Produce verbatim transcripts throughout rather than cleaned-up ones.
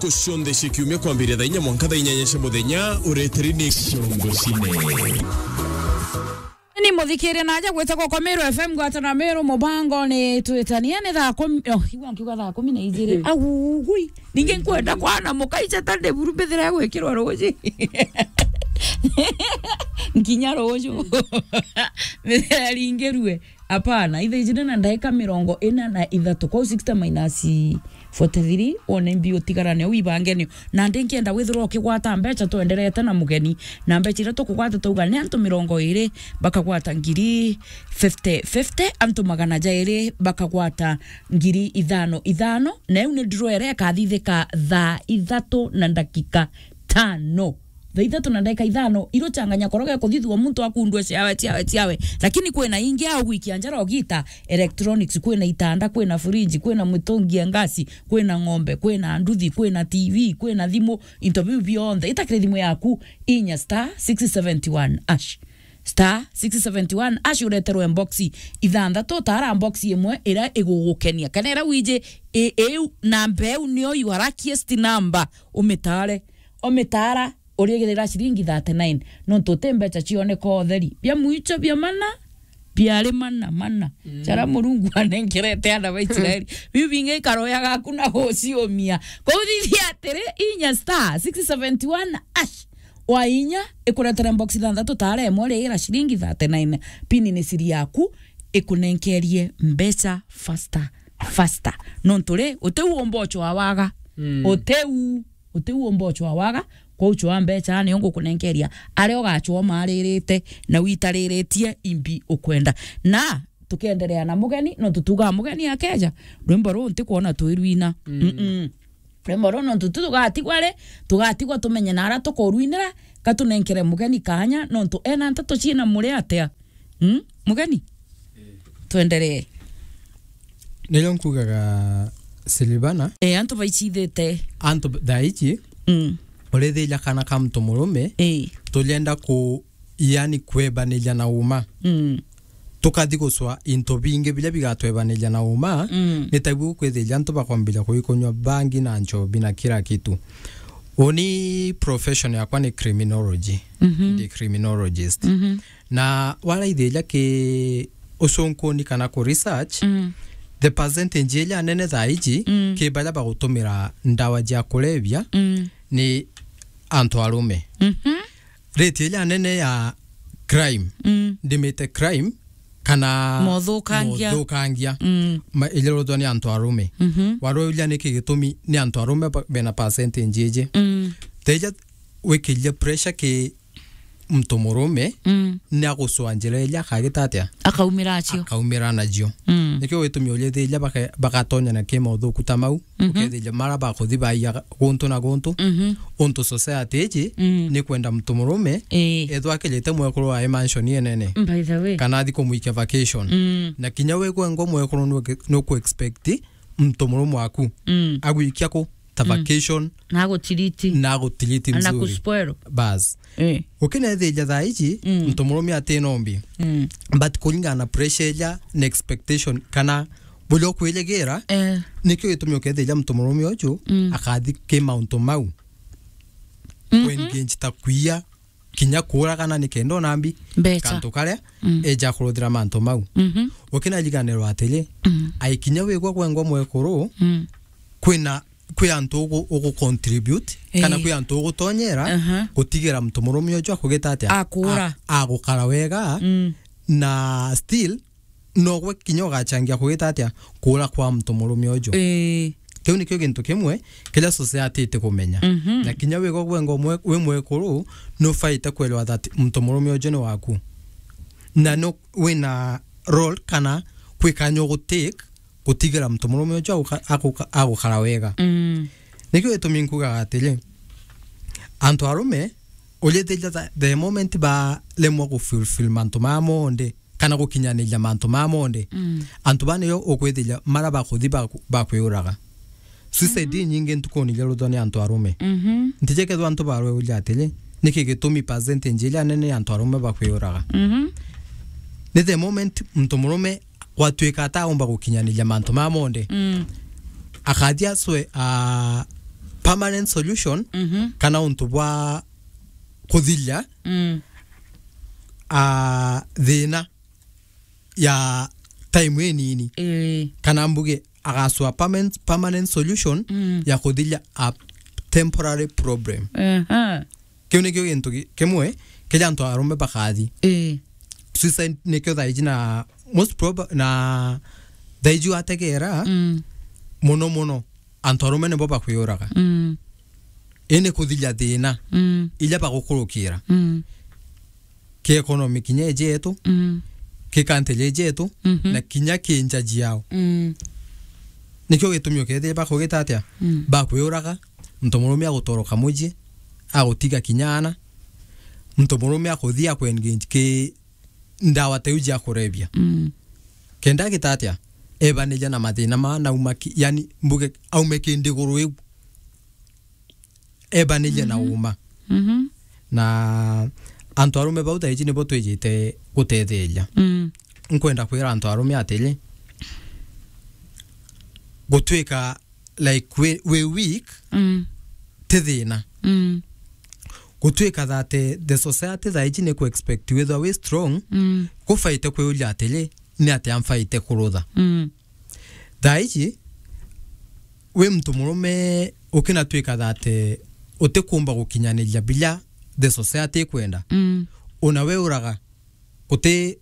Ntuku cionthe cia kiumia kwambiria thaa inya mwanka thaa inyanya cia muthenya, ureteri ni Ciongo Cine. Ni muthikiria na aja gwita goko Meru F M, gwata na Meru mubango ni twitania ni thaa kumi, oh, igua nkiuga thaa kumi na ijiri. Agugui. Ningi nkwenda kwana mukaicha tande buru mbithira ya gwikirwa ruji. Nkinya ruju. Mbithira ringirue. Apana, ithaa ijiri na ndaika mirongo ina na ithatu. Kwou sixty minus forty-three, wone mbi utigarane, u ibange nio. Na ndi nkienda withirwa ukigwata mbecha, twenderete na mugeni. Na mbecha iria tukugwata, twauga ni antu mirongo iri bakagwata ngiri fifty fifty, antu magana jairi bakagwata ngiri ithano ithano. Na iu ni draw iria ikathithika thaa ithatu na ndakika tano. Thaa ithatu na ndagika ithano, iruchanganya koroge kuthithua muntu akundua ciawe, ciawe, ciawe. Lakini kwina ingi au gwikia njara ugita, electronics, kwina itanda, kwina fridge, kwina mitungi ya ngasi, kwina ng'ombe, kwina nduthi, kwina T V, kwina thimu, into biu bionthe. Itakire thimu yaku, inya star six seventy one hash. Star six seventy one hash ureterwe box ithanthatu, tara box imwe iria igugukenia. Kana iria wiji i-, iu namba iu nio your luckiest number, umitare. Omitara urigirira ciringi thirty-nine. Nontu uti mbecha cioneka utheri. Bia mwicho bia mana, biari mana, mana. Mm. Jara Murungu anenkerete ana ba Israeli. Biu bingi ikaroya gaku na guciumia. Kuthithia atiri, inya star six seventy one hash. Wa inya, ikuretere box ithanthatu tara imwe rigira ciringi thirty-nine. Pini ni siri yaku, ikunenkerie mbecha faster, faster. Nontu ri, uti u umbochwa waga. Mm. Uti u Uti u umbochwa waga, kwou chwa mbecha nio ngukunenkeria. Aria ugachwa umaririte na witariritie imbi ukwenda. Na tukienderea na mugeni, nontu tugaa mugeni akeja, rwimbo ruu ntikwona twirwina. Mm. Mm-mm. Rwimbo ruu nontu tu tugatigwa ri, tugatigwa tumenye na aria tukurwinira, ka tunenkere mugeni kanya, nontu ena nteto ciina muri atia. Mm? Mugeni? Twenderee. Nirio nkugaga, Silvana. Eh, antu baichithite. Antu b-, thaa ici, mm, urithiria kana ka muntu murume, eh, turienda ku-, yani kwebaniria na uma. Mm. Tukathi gucwa into bingi biria bigatwebaniria na uma, mm, ni tabu kwithiria antu bakwambiria kuikunywa bangi na nchobi na kila kitu. Uni profession yakwa ni criminology. Mhm. Ndi criminologist. Mhm. Na waraithiria ki ucunkuni kana ku research, mm, the percentage iria nene thaa iji, mm, ki baria bagutumira ndawa cia kulevya, mm, ni antu arume. Mhm. Rate iria nene ya crime, mm, ndimite crime, kana mothukangia, mothukangia, mm, ma-, iria rutwa ni antu arume. Mhm. Warauria niki gitumi ni antu arume ba-, bena percentage iji? Mm. Teja wikirie pressure ki muntu murume, mm, ni agucwa njira iria akagita atia? Akaumira acio. Akaumira nacio. Mm. Nikio gitumi urithiria baka-, bagatonyana ki mauthuku ta mau, mhm, ukethiria mara bakuthi baiya guntu na guntu. Mhm. Untu society iji, mm, ni kwenda muntu murume, ii, ethwa akirite mwekuru wae mansion inene. By the way. Kana athi kumwikia vacation. Mm. Na kinya wi gwengwa mwekuru nuku-, nuku expect muntu murume waku, mm, agwikia ku ta, mm, vacation. Na agutiriti. Na agutiriti. Ana mzuri. Kuspoil. Bas. Eh. Ukinethiria thaa ici, mm, muntu murume atina umbi. Mm. But kuringana na pressure iria na expectation kana buria ukwirigira, eh, nikio gitumi ukethiria muntu murume uju, mm, akathi ki mauntu mau. Mhm. Kuengage ta kuiya, kinya kuuragana nikenda ona mbi, mbecha, kantu karia, mm, eja kuruthira mantu mau. Mhm. Ukinariganirwa atiri, mm, aikinya wigwa gwengwa mwekuru, mm, kwina, kwi antu ugu-, ugu contribute, kana, eh, kwi antu ugutonyera, aha, gutigira muntu murume uju akugita atia? Akuura. A-, agukara wega, mm, na still nogwe kinya ugachangia kugita atia? Kuura kwa muntu murume uju. Ii. Kiu nikio gintu kimwe kiria society itikumenya. Mhm. Na kinya wigwa gwengwa mwe-, wi mwekuru, nufaite kwelewa that muntu murume uju ni waku. Na no wina role kana kwi kanya ugutake gutigira muntu murume uju aguka-, aguka-, agukara wega. Mm. Nikio gitumi nkugaga atiri, antu arume, urithiria the, the moment baremwa gufulfill mantu maya monthe, kana gukinyaniria mantu maya monthe, mm, antu baa niyo ukwithiria mara bakuthi baku-, bakwiuraga. Suicide, mhm, inyingi ntukuni iria ruthwa ni antu arume. Mhm. Ntije kethwa antu barweuria atiri, niki gitumi percentage iria nene ya antu arume bakwiuraga? Mhm. Ni the moment muntu murume gwatuika ataumba gukinyaniria mantu maya monthe, mm, akathi acwe, a, permanent solution, mhm, kana untu bwa kuthiria, mm, a, thina ya time inini. Ii. Kana mbuge agasua permanent, permanent solution, mm, ya kuthiria a temporary problem. Aha. Kiu nikio gintu ki-, kimwe kiria antu arume bakathi. Ii. Suicide nikio thaiji na most proba-, na thaiji wategera, mm, muno muno antu arume nibo bakwiuraga. Mm. Indi kuthiria thina, mm, iria bagukurukira. Mm. Ki economy kinya iji yetu, mm, ki country iji yetu, mhm, na kinya ki nja jiao. Mm. Nikio gitumi ukethira bakugita atia? Mm. Bakwiuraga, muntu murume agutoroka muji, agutiga kinya ana, muntu murume akuthia akuengage ki ndawa teu jia kurebia. Mm. Kenda agita atia? Ebaniria na mathina maa nauma ki-, yani, mbuge aume ki ndiguru iu. Ebanirie na, mhm, uma. Mhm. Na antu arume bau thaiji nibo twijite gutetheria. Mm. Nkwenda kwira antu arume atiri, gutwika like wi, wi weak, mm, ti thina. Mm. Gutwika that, eh, the society thaiji ni ku expect withwa wi strong, mm, gufaite kwiuria atiri, ni atia mfaite kurutha? Mm. Thaiji, wi muntu murume ukinatwika that, eh, utikumba gukinyaniria biria the society ikwenda. Mm. Una we uraga, guti,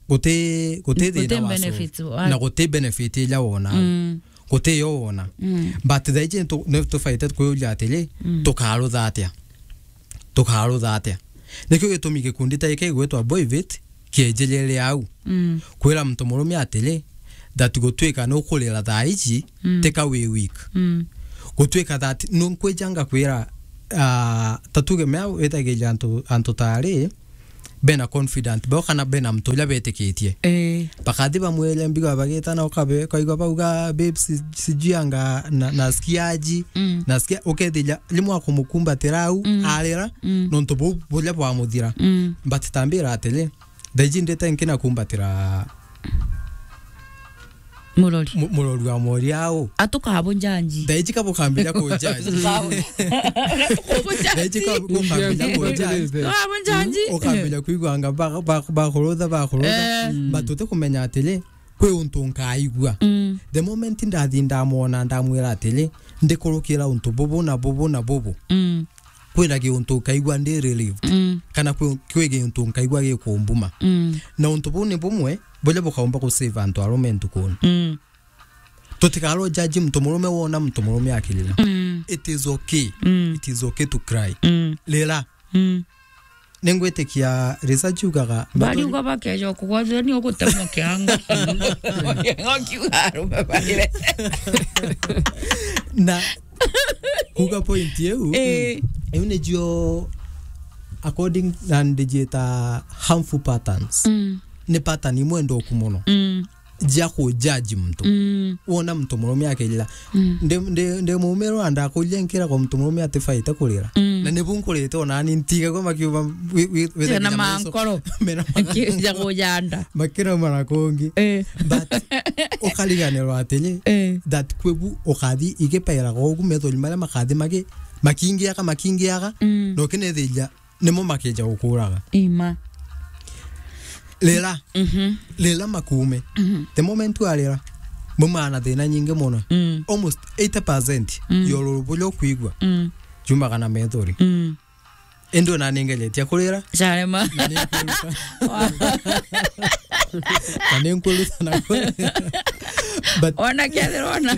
guti, guti, guti thina wacu, benefits wa- na guti benefit iria wona. Mm. Guti yo wona. Mm. But thaiji nitu-, nitubaite kwiuria atiri, mm, tukarutha atia? Tukarutha atia? Nikio gitumi gikundi ta giki gigwitwa Boyvit kienjirire au. Mm. Kwira muntu murume atiri, that gutwika nukurira thaiji, mm, tika wi weak. Mm. Gutwika that nunkwijanga kwira, ah, ta tuge mea withagiria antu, antu tari, bena confident bao kana bena muntu uria betikitie. Eh. Bakathi bamwire mbiga bagitana ukabe, ukaigua bauga, "Babe, si-, sijui anga na, nasikia aji, mm, nasikia," ukethira rimwe akumukumbatira au, mm, arira, mm, nontu buu buria bwamuthira. Mm. But tambira atiri, thaiji ndite nkina kumbatira murori. Mu-, murori wa mori au. Atukabunjanji. Thaiji kabukambiria kunjanji. Thaiji kabukambiria kunjanji. Tukabunjanji. Ukambiria kuigua anga ba-, ba-, bakurutha, bakurutha. Eh. Mm. But utikumenya atiri, kwi untu nkaigua. Mm. The moment ndathi ndamwona, ndamwira atiri, ndikurukira untu bubu na bubu na bubu. Mm. Kwina giuntu nkaigua ndi relieved. Mm. Kana kwi, kwi giuntu nkaigua gikumbuma. Mm. Na untu buu ni bumwe buria bukaumba gu save antu arume ntukuni. Mm. Tutikaro judge muntu murume wona muntu murume akirira. Mm. It is okay. Mm. It is okay to cry. Mm. Rira. Mm. Ningwitikia research yugaga bari uga bakeja kugwathira ni ugutemwa kianga. Kianga kiuga arume barire. Na kuga point iu, eh, iu nicio according na ndijieta harmful patterns. Mm. Ni pattern imwe ndoku muno. Mm. Jia ku judge muntu. Mm. Wona muntu murume akirira. Mm. Ndi, ndi, ndi mumirwa ndakuria nkira kwa muntu murume atifaite kurira. Mm. Na nibu nkurite ona ni ntigagwa makiuga wi-, wi-, withagira na maiso mankoro. Mena mankoro. Kija kujanda. Makirauma na kungi. Eh. But ukariganirwa atiri, eh, that kwibu ukathi igipairaga ugu methori maria makathi magi-, makingiaga, makingiaga, mm, na ukinethiria nimo makeja gukuraga. Ima. Rira. Mhm. Rira makuume. Mhm. The moment warira, mumana thina nyingi muno. Mm. Almost eighty percent, mm, ya ururu buria ukwigua, mm, jumaga na methori. Mm. Indi ona ningeretie kurira. Charema. Na ninkwiruta. Na ninkwiruta na kurira. But ona kethirwa ona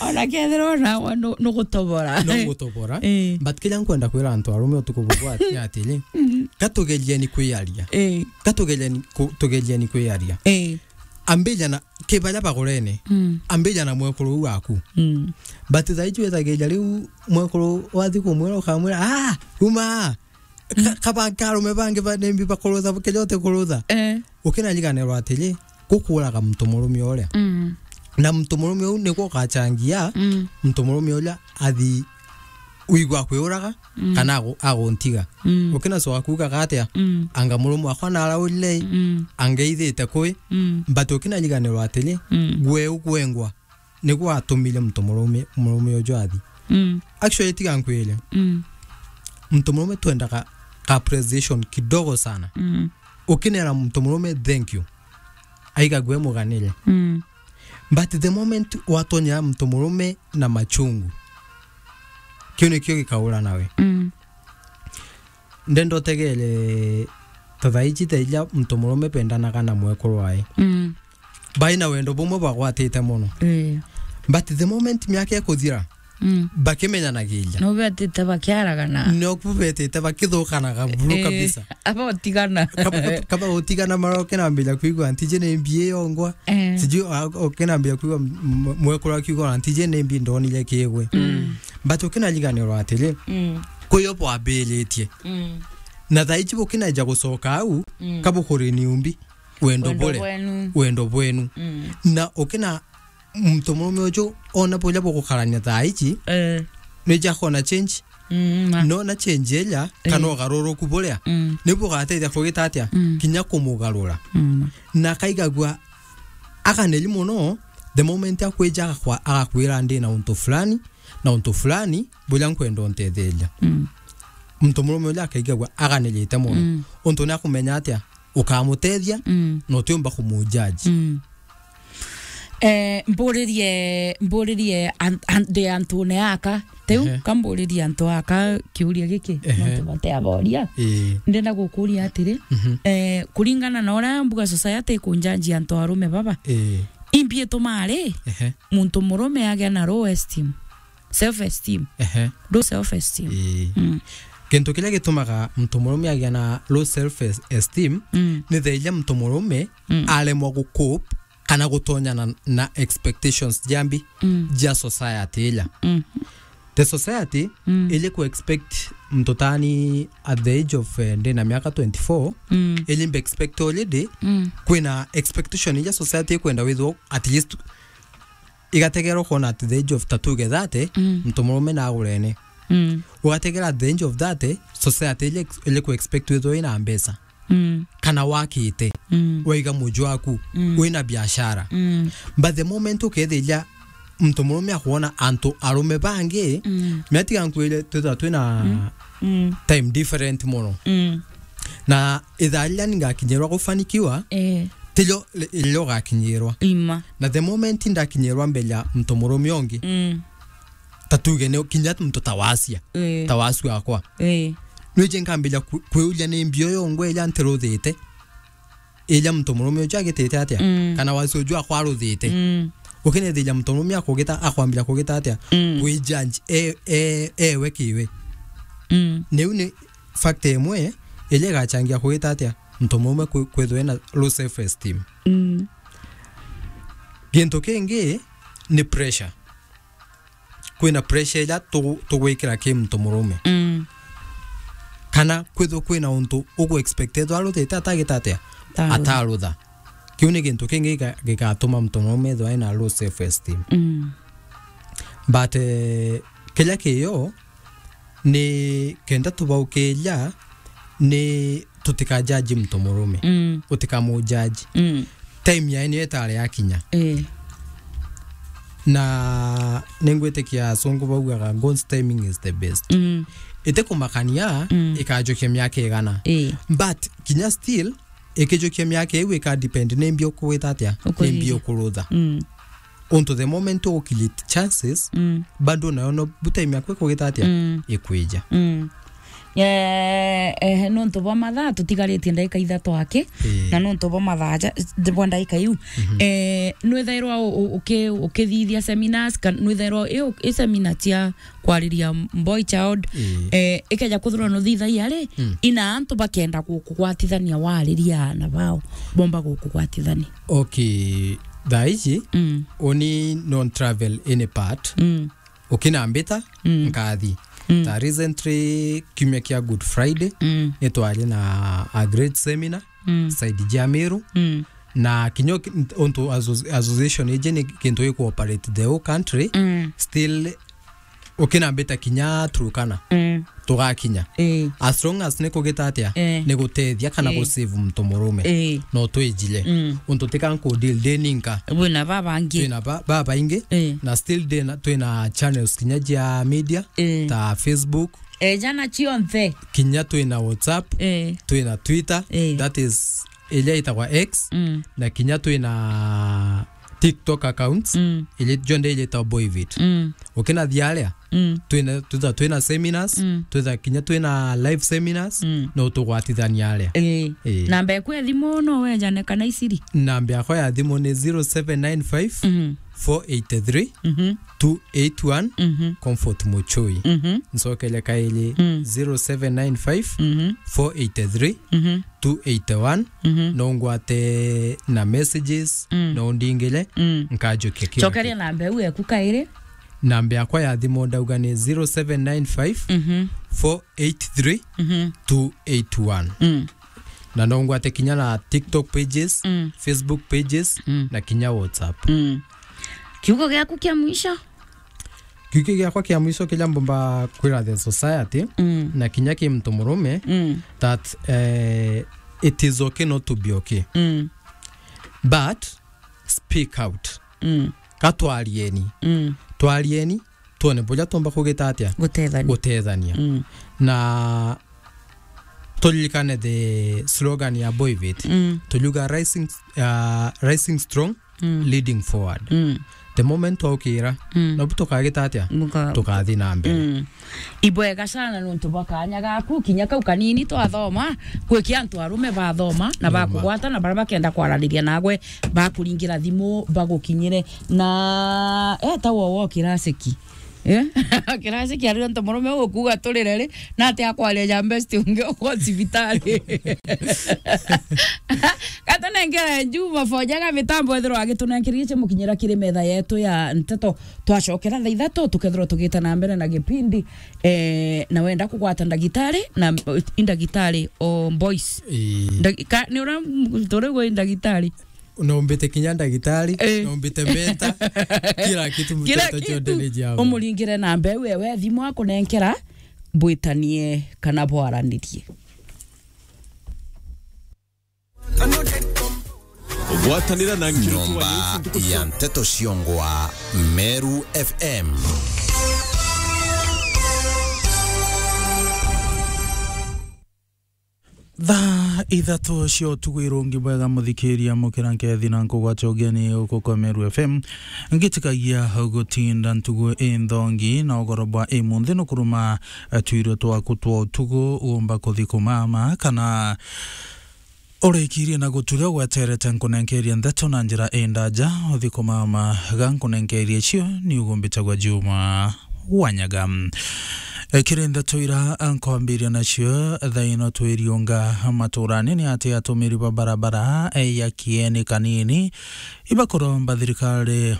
Ona kethirwa nawe nu-, nugutobora. Nugutobora. Eh. But kiria nkwenda kwira antu arume utuku bubu ati-, ni atiri, mm, gatugerieni kwiaria. Eh. Gatugerieni ku-, tugerieni kwiaria. Eh. Ambija na, ki baria bagurene. Mm. Ambija na mwekuru uu waku. Mm. But thaiji withagiria riu mwekuru wathi kumwira ukamwira, "Ah, uma!" Ka-, mm, kaba karume bangi banembi bakurutha, bukeja uti kurutha. Eh. Ukinariganirwa atiri, gukuraga muntu murume uria. Mm. Na muntu murume uu nigwo ugachangia, mm, muntu murume uria athi wigua kwiuraga, mm, kana agu-, aguntiga. Mm. Ukinacoka kuugaga atia? Mm. Anga murume wakwa naraurire, mm, angeithite kwi, mm, but ukinariganirwa atiri, mm, gwe ugwengwa. niguo atumire muntu murume, murume uju athi. Mm. Actually, tiga nkwire. Mm. Muntu murume twendaga ka appreciation kidogo sana. Mm. Ukinera muntu murume thank you, aigagua muganire. Mm. But the moment watonyera muntu murume na machungu, kiu nikio gikaura nawe. Mm. Ndenda utegere ta thaa iji, thaa iria muntu murume bendanaga na mwekuru wae. Mm. Bai na wendo bumwe bagwatite mono. Eh. But the moment miaka ikuthira, mm, bakimenyanagiria. No betite bakiaragana. No ku betite bakithukanaga buru, eh, kabisa. Aba utigana. Kaba, kaba utigana mara ukinambira kwigua ntiji ni mbi iyo ngwa. Eh. Sijui, a, ukinambira kwigua m-, m-, mwekuru akiuga ntiji ni mbi ndonire kigwe. Mm. But ukinariganirwa atiri, mm, kwi yo bwambiritie. Mm. Na thaa iji bukinaija gucoka au, mm, kabukuri niumbi. Wendo, wendo bure bwenu. Wendo bwenu. Mm. Na ukina muntu murume uju ona buria bugukarania thaa iji, eh, nija kona change. Mm, ma. Nona change iria, eh, kana ugaruruku buria, mm, nibu ugateithia kugita atia? Mm. Kinya kumugarura. Mm. Na akaigagua aganiri mono the moment akwija agakwa-, agakwira ndi na untu fulani, na untu fulani buria nkwenda untetheria. Mm. Muntu murume uria akaigagua aganirite mono. Mm. Untu ni akumenya atia? Ukamutethia, mm, na utiumba kumujaji. Mm. Eh, mburirie, mburirie an-, an-, ndi antune aka. Riu, ehe, ka mburirie antu aka kiuria giki, ehe, nontu bate aboria. Ii. Ndenda gukuria atiri, mhm, eh, kuringana na uria mbuga society ikunjaji antu arume baba, ii, imbi ituma ari, ehe, muntu murume agia na low esteem, self esteem. Ehe. Low self esteem. Ii. Mm. Kintu kiria gitumaga muntu murume agia na low self es-, esteem, mm, ni thaa iria muntu murume, mm, aremwa gu cope kana gutonyana na expectations jia mbi, mm, jia society iria. Mm. The society, mm, ili ku expect muntu tani at the age of, eh, ndi na miaka twenty-four, mm, ili mbe expect already, mm, kwina expectation iria society ikwenda withwo at least igategerwa kwona at the age of ta tuge thirty, mm, muntu murume na agurene. Mm. Ugategera at the age of thirty, society ile, ile ku expect withwe wina mbeca. Mm. Kana wakite, mm, waiga muju waku, mm, wina biashara. Mm. But the moment ukethirira muntu murume akwona antu arume bangi, mm, mia tiga nkwire twithwa twina, mm, mm, time different mono. Mm. Na ithaa riria ni ngakinyirwa gufanikiwa, eh, tirio ri-, riria ugakinyirwa. Ima. Na the moment ndakinyirwa mbere ya muntu murume ungi, mm, ta tuge ni kinya muntu ta wacia, eh, ta wacu akwa. Eh. Nwije nkambija ku-, kwiuria ni mbi uyu ngwe iria ntiruthite, iria muntu murume uju agitite atia? Mm. Kana wacu uju akwa aruthite? Mm. Ukinethiria muntu murume akugita, akwambira kugita atia? Mm. Kwi judge, e, e, ewe kiwe. Mm. Niu ni factor imwe iria igachangia kugita atia muntu murume kwi-, kwithwa ena low self esteem. Mm. Gintu kingi ni pressure. Kwina pressure iria tugu-, tugwikira ki muntu murume. Mm. Kana kwithwa kwina untu ugu expected aruthite atagita atia? Atarutha. Atarutha. Kiu ni gintu kingi gika-, gigatuma muntu murume ethwa ena low self esteem. Mm. But, eh, kiria kiyo ni kenda tubaukiria ni tutikajaji muntu murume. Mm. Utikamujaji. Mm. Time yae niyo itari yakinya. Eh. Na ningwitikia asungu baugaga, "God's timing is the best." Mm. Itikumakania, mm, ikajukia miaka igana. Eh. But kinya still, ikijukia miaka iu ika depend ni mbi ukugita atia? Ni mbi ukurutha. Mm. Untu the moment u create chances, mm, bado nayo no bu time yaku ikugita atia? Mm. Ikwija. Mm. Eh, eh, nontu bwa mathaa tutigaritie ndagika ithatu aki, eh, na nontu bwa mathaa ja-, bwa ndagika iu, mhm, eh, nwithairwa u-, u-, uki-, ukithithia seminars, kan-, nwithairwa i u-, i seminar cia kwariria boy child, eh, eh, ikeja kwithirwa nuthithagia ri, mm, ina antu bakenda gukugwatithania wariria aana bao, bomba gukugwatithania. Okay, thaa iji, mm, uni non travel any part. Mm. Ukinambita, mm, nkathi. Mm. Ta recently, kiumia kia Good Friday, mm, nitwari na a great seminar, mm, side jia Meru. Mm. Na kinya ki-, untu asso-, association iji ni kintu giku operate the whole country, mm, still Ukinambita kinya Turkana. Mm. Tugakinya. Eh. As long as ni kugita atia, eh, ni gutethia kana, eh, gusave muntu murume. Eh. No twijile. Mm. Untu tika nkudeal ndi ninka. Wina babangi. Twina ba-, babaingi. Eh. Na still ndina, twina channels kinya cia media, eh, ta Facebook. Eja na cionthe. Kinya twina WhatsApp, eh, twina Twitter, eh, that is iria itagwa X, mm, na kinya twina TikTok accounts, mm, iria jonthe iria itagwa Boyvit. Mm. Ukinathia aria, mm, twina, twitha twina seminars, mm, twitha kinya twina live seminars, mm, no tugwatithania aria. Ii. Ii. Namba yaku ya thimu no wejane kana iciri? Namba yakwa ya thimu ni zero seven nine five, mhm, four eight three, mhm, two eight one, mhm, Comfort Muchui. Mhm. Ncokere kairi, mm, zero seven nine five, mhm, four eight three, mhm, two eight one, mhm, no ngwate na messages, mm, no ndingire, mm, nkajukia kira. Cokeria kintu. Namba iu yaku kairi. Namba yakwa ya thimu ndauga ni zero seven nine five, mhm, four eight three, mhm, two eight one. Mm. Na no ngwate kinya na TikTok pages, mm, Facebook pages, mm, na kinya WhatsApp. Mm. Kiugo giaku kia mwisho? Kiugo giakwa kia mwisho kiria mbumba kwira the society, mm, na kinya ki muntu murume, mm, that, eh, it is okay not to be okay. Mm. But speak out. Mm. Ka twarieni. Mm. Twarieni, twone buria tumba kugita atia? Gutethania. Gutethania. Mm. Na turirikane the slogan ya Boyvit. Mm. Turiuga rising, uh, rising strong, mm, leading forward. Mm. The moment twaukira, mm, nobu tukagita atia? Muka- Tukathi na mbere. Mm. Ibwega sana nontu bwa kanya gaku, kinya kau kanini twathoma, kwi kia antu arume bathoma, na, ni ma, bakugwata, na baria bakenda kwaraniria nagwe, bakuringira thimu, bagukinyire. Na eta wo wo kiraciki. Eh? Kiraciki aria ntu murume ugukuga turire ri, na ati akwaria ja best ungi uko cibitari. Gatunengere Juma Fojaga mitambo ethirwa agitunenkerie cia mukinyira kiri metha yetu ya nteto. Twacokera thaa ithatu, tukethirwa tugita na mbere na gipindi. Eh, na wenda kugwata ndagitari, na, i ndagitari o boys. Ii. Ndagi-, ka-, ni ura, turi gwi ndagitari? Naumbite kinya ndagitari, eh, naumbite menta, kila kitu, kila mtoto kitu. Chote ni jambo. Umuringire namba iu ewe thimu akunenkera, bwitanie kana bwaranirie. Gwatanira na Nkiruki wa Nyomba Yesu ntuku ya cia nteto ciongwa, Meru F M. Thaa ithatu cia utuku irungi bwega, muthikiria, mukira nkethi na nkugwata ugeni uku kwa Meru F M. Ngitikagia gutinda ntugu inthongi na ugoro bwa imunthi nukuruma, eh, twirwe twaku twa utuku, umba kuthi kumama kana urikirie na guturia gweterete nkunenkerie ndeto na njira indaja, uthi kumama ga nkunenkerie cio, ni ugumbitagwa Juma Wanyaga. E, kiri ndeto ira nkwambiria nacio, thaa ino twiriunga maturani ni ati atumiri ba barabara, e, ya Kieni Kanini ibakuromba thirikari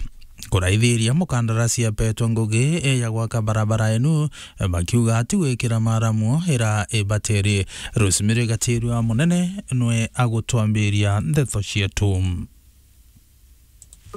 kuraithiria mukandarasi apetwe ngugi, e, ya gwaka barabara enu, e, bakiuga ati gwikira maramu ira ibatiri. Rosemary Gatirua Munene nwe agutwambiria ndeto cietu.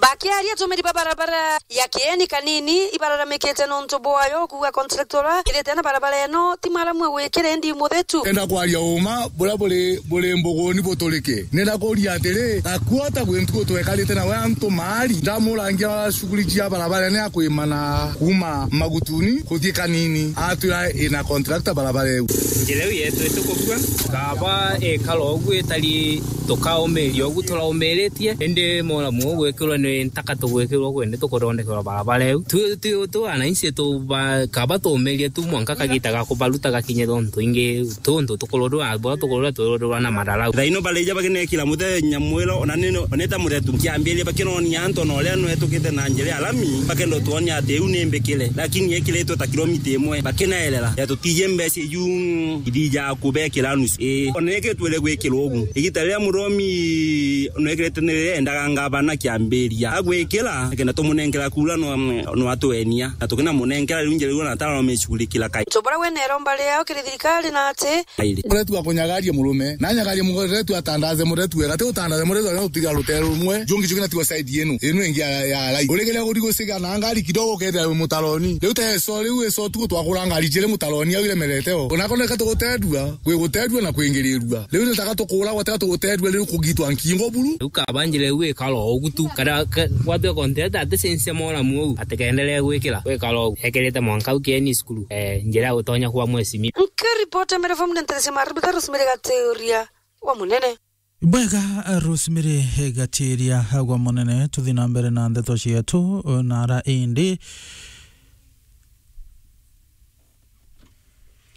Bakiaria, atumiri ba barabara ya Kieni Kanini ibararamikite nontu bwayo, kuuga contractor uria kirite na barabara ino ti mwaramu agwikire, indi muthetu. Enda kwaria uma buria buri, buri mbuguni buturike. Nenda kuria atiri, akuota gwi ntuku twekarite nawe antu maari, ndamurangia shughuli cia barabara ni akwimana kuuma Magutuni kuthii Kanini, atwira ina contractor barabara iu. Njira iu yetu itukukua, kaba ikara ugu itari, tukaumiria ugu turaumiritie, indi muramu ugwikirwa ni ntaka tugwikirwa ugu, indi tukuthondekerwa barabara iu. Tu, tu, tu wananchi tu ba, kaba tuumirie tu mwanka kagita ga kubaruta gakinye, tontu ingi tuntu tukururwa, bwa tukururwa, tururwa na madarau. Thaino barija bakinekira muthenya mwiro, ona ni, ona ita muthetu nkiambiria bakinonia antu ona uria nwetukite na njira ya lami, bakenda tuonia ati iu ni mbikire, lakini yekiritwe ta kilomita imwe, bakinaerera ya tutije mbeca iu ithija kubekira nusu. Ii, ona iki twire gwikirwa ugu. Igita riria muromi nwekirite ni riria endaga ngavana kiambiri. ya gwikira, kenda tumunenkera kura no, no atwenia. Na tukina munenkera riu njira riu na tara no micurikira kai. Ntu buria wina iromba riao kiri thirikari na ati. Airi. Uretu wa kunyagaria murume, na nyagaria muretu atandaze muretu wega, ti utandaze muretu wega utiga rutere rumwe, jungi jungi na tiwa side yenu, inu ingi ya, ya rai. Uregeria guri gusiga na ngari kidogo ukethira wi mutaroni. Riu ta eso riu eso tu twakura ngari jiri mutaroni au iremerete o. Ona koneka tugutendua, kwi gutendua na kwingirirua. Riu nitaka tukuragwa, tega tugutendua, riu kugitwa nkingo buru. Riu kaba njira iu ikara o ugu tu, kana ka-, gwatwe kontenta ati censia moramu uu, ati kaendelee gwikira, gwikara o ugu. Ekirite mwanka au kieni cukuru, eh, njira ya gutonya kwa mwesimi. Nkiripota Meru F M ni nterecia Maribika Rosemary Gatiuria wa Munene. Bwega, Rosemary Gatiuria wa Munene, tuthi na mbere na ndeto cietu, na ara indi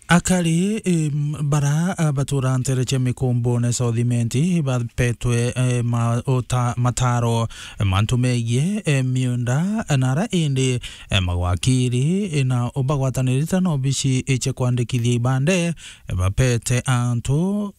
Akari, em, bara, a, batura ntere cia Mikumbune South Imenti, bapetwe, e, ma-, ota-, mataro, e, mantu megie, e, miunda, e, na ara indi, e, mawakiri, e, na bagwatanirite na obici, e, cia kwandikithia ibande, e, bapete antu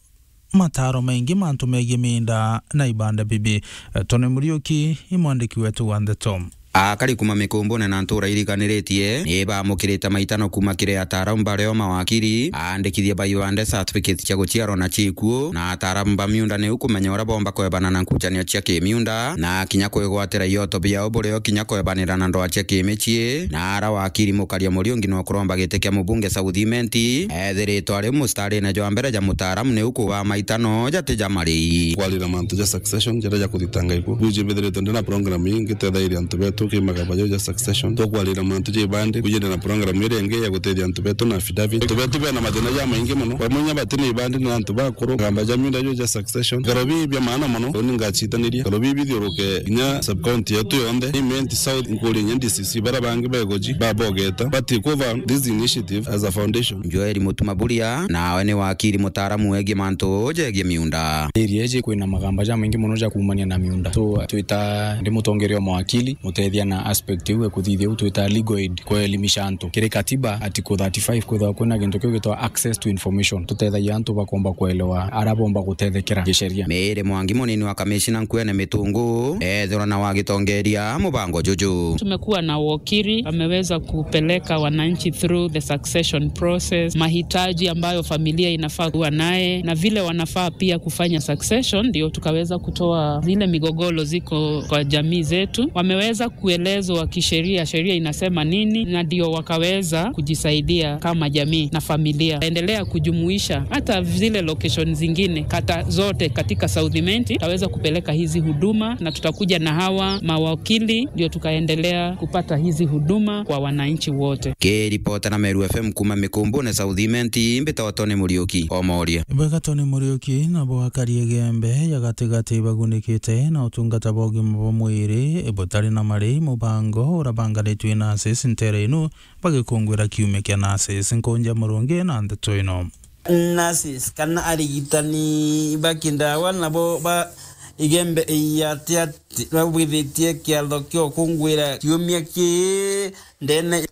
mataro maingi mantu megie miunda na ibande bibi. E, Tony Muriuki, i mwandiki wetu wa ndeto. Akari kuma Mikumbune na ntura iriganiritie ni bamukirite maitano kuma kiri ataaramu bario mawakiri, aandikithia ba ibande, certificate cia guciarwa na cia ikuo, na ataaramu ba miunda niu kumenya uria bomba kwebana na nkucanio cia kimiunda, na kinya kwigwatira ioto biao burio kinya kwebanira na ndoa cia kimicii. Na ara wakiri Mukaria Muriungi no kuromba giti kia mubunge South Imenti, ethiritwe ari mustarine jwa mbere ja mutaaramu niu kuba maitano jati ja marii. Kwarira mantu ja succession, jaria ja kuthitanga ikuo. Buji mbithiritwe ndi na program ii ngitethairia antu betu ki magamba jau ja succession. Tukwarira mantu ja ibandi, buji ndi na program iria ingi ya gutethia antu betu na affidavit. Antu betu bena mathina jamaingi mono. Bamwe inya bati na ibandi ni antu bakuru. Magamba ja miunda jau ja succession. Bikaro bii bia maana mono, uni ngacitaniria. Bikaro bii bithiuruke inya sub-county yetu yonthe. Imenti South, nkuria inya D C C, baria bangi beguji, babogeta. But cover this initiative as a foundation. Joel Mutuma Buria, nawe ni wakiri mutaaramu wegie mantu jegie miunda. Area iji kwina magamba jamaingi mono ja kuumania na miunda. So, twita ndi mutongeria o mawakili, mutethia na aspect iu e kuthithia u twita legal aid, kuelimisha antu kiri katiba, article thirty-five, kwithagwa kwina gintu kiu gitwa access to information. Tutethagia antu bakomba kuelewa ara bomba gutethekera gisheria. Mary Mwangi, munini wa kamishina nkuene Mitungu, ethirwa na wagitongeria mubango juju. Tumekuwa na wakili, wameweza kupeleka wananchi through the succession process, mahitaji ambayo familia inafaa kuwa naye, na vile wanafaa pia kufanya succession, ndio tukaweza kutoa zile migogoro ziko kwa jamii zetu. Wameweza kuelezwa kisheria, sheria inasema nini, na ndio wakaweza kujisaidia kama jamii na familia. Endelea kujumuisha hata zile location zingine, kata zote katika South Imenti, tutaweza kupeleka hizi huduma, na tutakuja na hawa mawakili, ndio tukaendelea kupata hizi huduma kwa wananchi wote. Kiripota na Meru F M kuma Mikumbune South Imenti, mbitagwa Tony Muriuki, Omoria. Bwega Tony Muriuki, nabo akari Igembe ya gatigati bagunikite na utungata bwa ugima bwa mwiri butari na marii, mubango urabanganitwe na nurses ntere inu bagikungwira kiumia kia nurses. Nkunja Murungi na ndeto ino. Nurses kana arigitani ba kindawa nabo ba Igembe ya Atiati babwithitie kiatho kia ukungwira kiumia kii ndene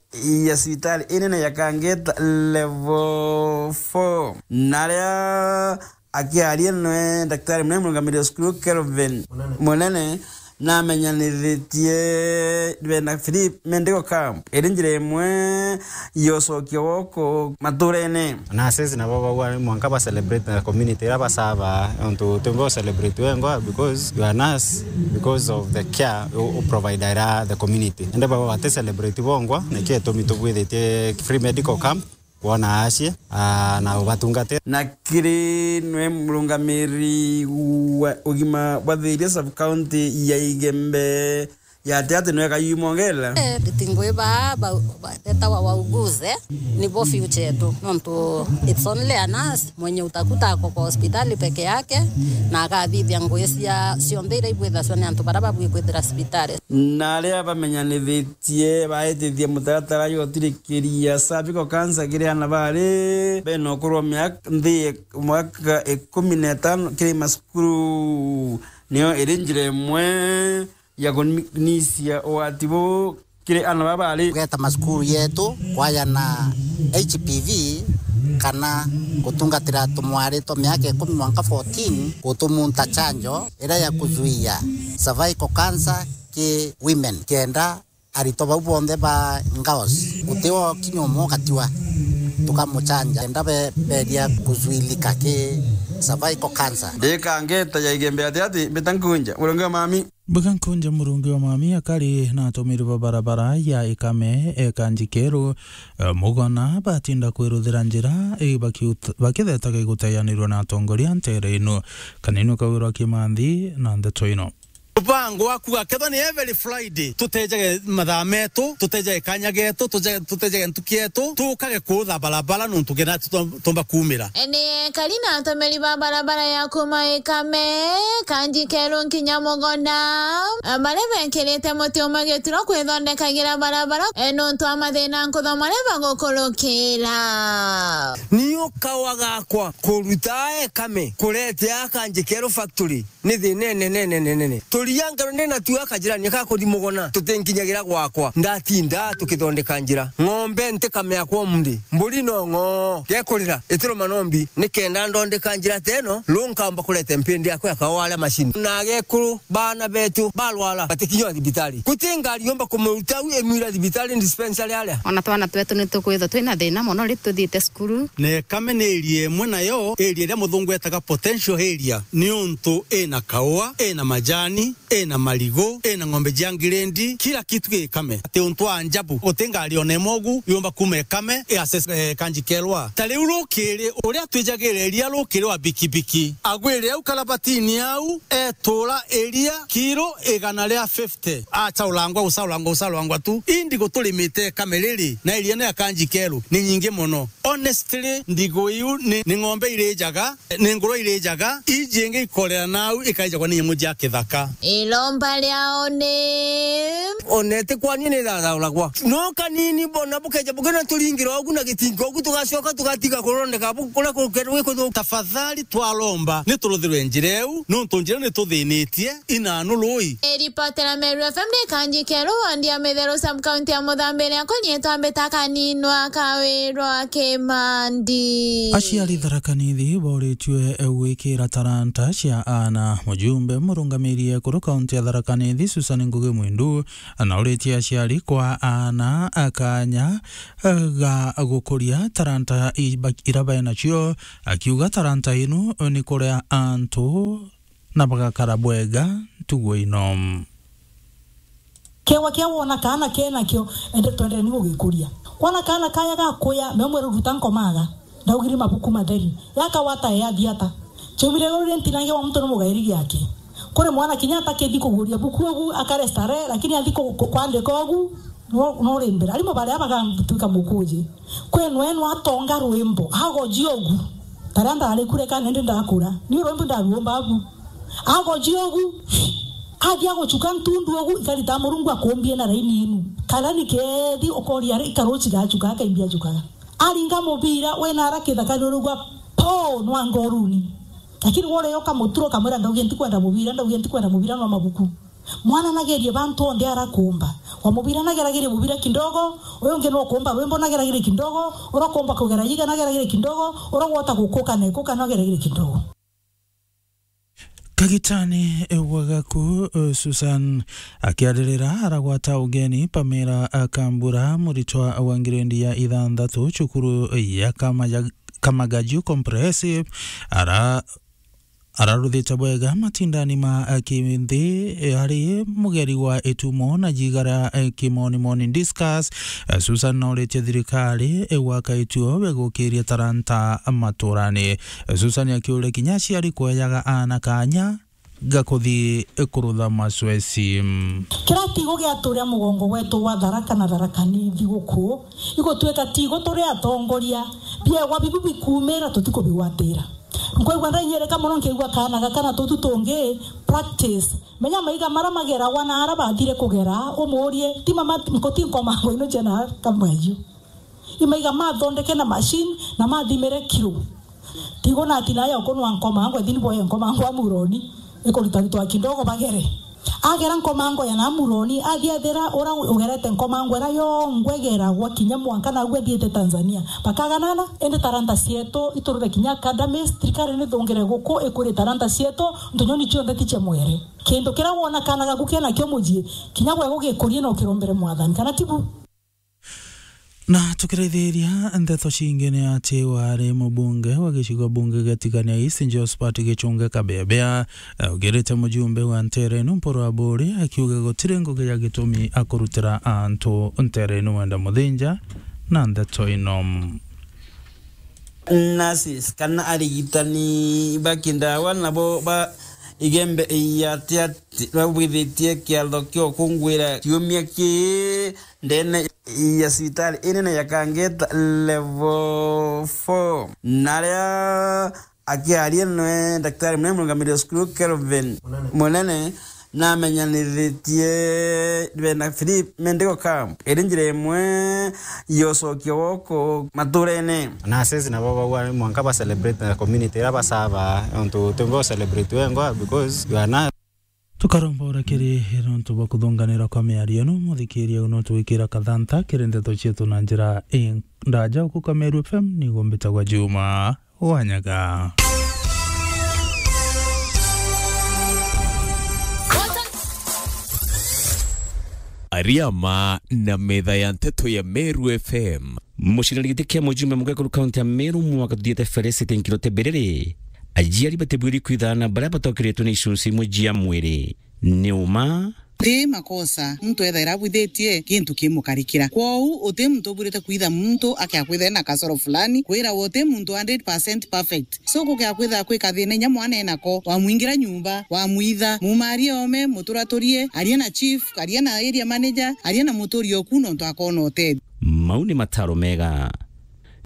ya cibitari inene ya Kangeta level four, na aria akiaria nwe Daktari munene murungamiri wa cukuru Kelvin Munene, namenyanithitie bena Philip Medical Camp iri njira imwe ya ucokia woko maturene. Nurses nabo bagwa mwanka ba celebrate na community ira basaba, ontu tumbe celebrate wengwa because you are nurse, because of the care u, u provide ira the community. Ende baba bate celebrate bongwa, niki itumi tubwithitie free medical camp, kwona acie, ah, na ubatungatira. Na kiri nwe murungamiri wa ugima bwa Thiria sub county ya Igembe ya Atiati nwe Kayumongela. Eh, ritingwi baa ba, ba, betawa wauguze, nibo future yetu. Nontu it's only a nurse mwenye utakuta ako kwa hospitali peke yake, na akathithia ngui cia cionthe iria ibwithaswa ni antu baria babui kwithira cibitari. Na aria bamenyanithitie baitithia mutaratara jwa utirikiria cervical cancer kiri ana bari bena ukuru wa miaka, nthi ya mwaka ikumi na itano kiri macukuru, niyo iri njira imwe ya kunisia ugwati buu kiri ana baba bari. Kugeta macukuru yetu kwaya na H P V kana gutungatira tumwari twa miaka ikumi mwanka fourteen, gutumunta chanjo iria ya kuzuia cervical cancer, ki women, kenda aritwa bau bonthe ba girls, guti o kinya umwe ugatiwa, tukamuchanja, kenda be-, beria kuzuilika ki cervical cancer. Ndikangeta ya igembe ati ati, mbita nkunja, murungi wa mami. Mbita nkunja, murungi wa mami, akari na atumiri ba barabara ya Ikame, e, Kanji Keru, e, Mugona, batinda kwiruthira njira, e, bakiut-, bakithetaga iguteanirwa na atongoria ntere ino. Kanini ukawirwa Kimanthi na ndeto ino. Mubango wa kuuga kethwa ni every Friday, tutejage mathaa metu, tutejage kanya getu, tuje-, tutejage ntuki yetu, tukage kuutha barabara nuntu kenda tu-, tumba kuumira. Ni ekari na atumiri ba barabara ya kuuma Ikame, Kanji Keru nkinya Mugona, baria bekirite muti umwe gituro kwithondekagira barabara, e, nuntu wa mathina nkuthoma maria bagukurukira. Ni ukawa gakwa kuruta Ikame kurete a Kanji Keru factory. Ni thina inene, nene, nene. Turia ngero ndina tu akajirani ka kuthi Mugona, tutinkinyagira gwakwa. Ndatinda tukithondeka njira. Ng'ombe ntikame yakwa umri. Mburi no ng'oo. Gekurira, itiruma nombi. Nikenda ndondeka njira teno, ru nkamba kurete mpindi yakwa ya kawaria macini. Na agekuru, bana betu, barwara, batikinywa thibitari. Guti ngari yomba kumuruta u imwira thibitari dispensary aria. Ona twana twetu ni tukwithwa twina thina mono ri tuthiite cukuru. Na Ikame ni area imwe nayo, area iria muthungu etaga potential area, niuntu ina kaua, ina majani, ina marigu, ina ng'ombe cia ngirendi, kila kitu gi Ikame. Ati untu wa ajabu, guti ngari ona imwe ugu yumba kuuma Ikame i access, eh, Kanji Keru. Ta riu rukiri, uria twijagire iria rukiri wa bikibiki, agwire au karabatini au, etura iria kiro igana ria fifty. Acaurangwa, gucaurangwa, gucaurangwa tu. Indi guturimite Ikame riri, na area ni ya Kanji Keru, ni nyingi mono. Honestly, ndigu iu ni, ni ng'ombe irijaga, ni ngurwe irijaga, iji ingi ikorera nau ikaijagwa ni nyamu cia kithaka. Iromba riao ni. Ona iti kwani ni thathauragwa. No kanini bona bukeja bukena turingira ugu na gitingo ugu tugacoka tugatiga kurondeka bu-, kuria kukerwe kuthu. Tafadhali twaromba ni turuthirwe njira iu, nontu njira ni tuthinitie. Inanu rui. Iripotera Meru F M ni Kanji Keru, wandi ya Mitheru, sub-county ya Muthambiria, kunyitwa mbita kaninwa kawirwa Kimandi. Aciari Tharaka Nithi boritue gwikira taranta cia aana. Mujumbe murungamiri ekuru kaunti ya Tharaka Nithi, Susan Ngugi Mwindu, anauritie aciari kwa aana akanya ga gukuria taranta iba-, ira baenacio, akiuga taranta inu ni kuria antu na bagakara bwega ntugo ino. Kewa kia wona kaana kenakio, ende twendeni gugikuria. Wona kaana kaya gakuya, me mwere ruta nkomaga. Ndaugire mabuku matheri. Yakawata e athiata. Chaumire ruri ntinange wa muntu ni mugairi giake. Kuri mwana kinya atakithi kuguria buku ugu akare starehe, lakini athi ku-, ku-, kwandika ugu, no, no rimbira. Arimu baria bagatuika mukuji. Kwenu enu atonga rwimbo, agoji ugu. Taria ndari kure kana ndi ndakura. Ni rwimbo ndaruomba abu. Agoji ugu. Athi aguchuka ntundu ugu, ikarita Murungu akumbie na raini inu. Kana ni kethi ukoria ri, ikaruchi gachuka, akaimbia achukaga. Aringa mubira, wena ara kithaka ni urugwa, po, nwa ngoruni. Lakini wore yo kamuturo kamwira, ndaugie ntikwenda mubira, ndaugie ntikwenda mubira, no mabuku. Mwana nagerie bantu onthe arakumba. Wa mubira nageragerie mubira kidogo, uyu ungi nukumba rwimbo nageragerie kidogo, urakumba kugera yiga nageragerie kidogo, uragwota gukuka na ikuka nageragerie kidogo. Kagitani wa gaku, Susan, akiaririra aragwata ugeni Pamela Kambura, muritwa wa ngirendi ya ithanthatu cukuru ya Kamaja-, Kamagaju Comprehensive, ara- araruthite bwega matindani ma, eh, kinthi, eh, ari mugeri wa itumo na jigara, eh, kimonimoni discus. Eh, Susan nauritie thirikari, eh, gwaka ituo bigukiria taranta maturani. Eh, Susan akiuria kinya aciari kwejaga aana kanya ga kuthi, eh, kurutha macweci. Kira tigo giaturia mugongo gwetu gwa Tharaka na Tharaka Nithi guku, igutwika tigo turi atongoria, biegwa bibu bikumira tutikubigwatira. Nkwigua ndaiyereka mono nkiigua kaana gaka na tutu tungi practice. Menya maiga mara mageragwa na ara bathire kugera, umurie, ti mama, nkuti nkomango ino ciana kamweju. Imaiga mathondeke na machine na mathimire kiro. Tigo na atina ya ukunwa nkomango, ethini boye nkomango amuroni, ikuritaritwa kidogo bagere. Agera nkomango ya Namuroni, athia ethira ura ugerete nkomango ira yongwa igeragwa kinya mwanka naagwe athiite Tanzania. Bakaganana, indi taranta cietu iturire kinya academies, thirikari nithungire guku ikwirie taranta cietu, ntu nyoni cionthe ti cia mwere. Kintu kiria wona kaana gaku kenakio mucii, kinya gwe gugikurie na ukirombere Mwathani, kana tibu? Na tukiraithiria ndeto cingi ni ati wari mubunge wa gicigo bunge gia Tigania East, Josphat Gichunge Kabeabea, augirite mujumbe wa nteere inu Mpuru Aburi akiuga gutiri ngugi ya gitumi akurutira antu nteere inu Wenda Muthinja na ndeto ino. Nurses kana arigitani ba kindawa nabo ba Igembe ya Tiati babwithitie kiatho kio kungwira kiumia kii ndene ya cibitari inene ya Kangeta level four. Naria akiaria nwe Daktari Munene Murungamiri wa Cukuru Kelvin Munene namenyanithitie bena Philip Mendigo Camp iri njira imwe ya ucokia woko maturene. Nurses nabo bagwa mwanka ba celebrate na community ira basava, ontu utimba u celebrate wengwa because you are nurse. Tukaromba urekeri nontu bwa kuthunganira kwa miario ino, muthikiria no twikira kathanta kiri ndeto cietu na njira indaja. Uku Kameru F M nigo mbitagwa Juma Wanyaga. Ariama na metha ya nteto ya Meru F M. Mucinani giti kia mujumbe mugekuru kaunti ya Meru mwaka tuthiite Felicity Nkirote Biriri, aciari batibwiri kwithana baria batokeretwe ni icunci imwe cia mwiri. Ni uma? Ti makosa muntu ethaira abwithitie gintu kimukarikira. Kwou uti muntu ubwirite kwitha muntu akia kwitha ena kasoro fulani, kwira uti muntu hundred percent perfect. So kukia kwitha kwika thina inya mwana enako, wamwingira nyumba, wamwitha, mumarie ome, muturaturie, aria na chief, aria na area manager, aria na muturi oku nontu akona utethio. Mau ni mataro mega.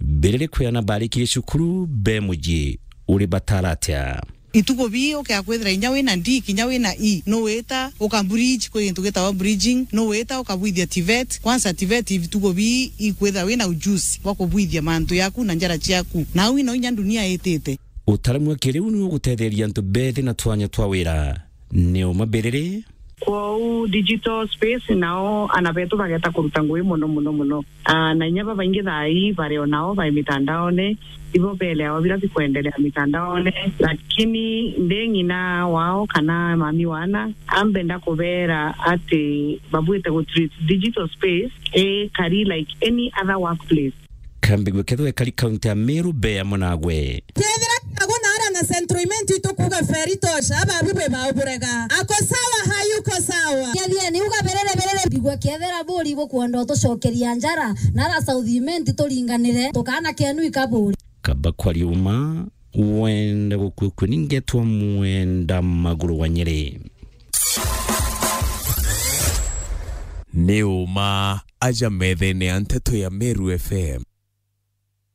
Biriri kwiana barikirie cukuru be mucii, uri batara atia? Itugo bii ukia kwithira inya wina D, kinya wina E, nuwita uka bridge, kwi gintu gitawa bridging, nuwita ukabwithia TVET. Kwanza TVET itugo bii ikwithira wina ujuzi bwa kubwithia mantu yaku na njara ciaku. Na au ino inya dunia itite. Utaaramu wa kiriu ni ugutetheria antu bethi na twanya twa wira. Ni uma Biriri? Kwou digital space nao ana betu bageta kuruta ngugi mono, mono, mono. Ah, na inya babaingi thaa ii bari o nao bai mitandaone, ibo beleawa bira bikwendelea mitandaone, lakini ndi ng'ina wao kana mami wana, ambenda kubera ati babwite gu treat digital space ikari like any other workplace. Kambigue kethwe kari kaunti ya Meru be amwe nagwe. Kethira kago nara na Central Imenti tukuga feri tosha, ababi bwe bauburega. Ako sawa, hayuko sawa. Kethia ni uga Biriri, Biriri. Mbigua kethira buri bukwenda utucokeria njara, nara South Imenti turinganire, tukana kenu ikaburi. Kaba kwa riuma, wenda gukwikwe ningetwa mwenda maguru wa Nyeri. Ni uma aja methene ya nteto ya Meru F M.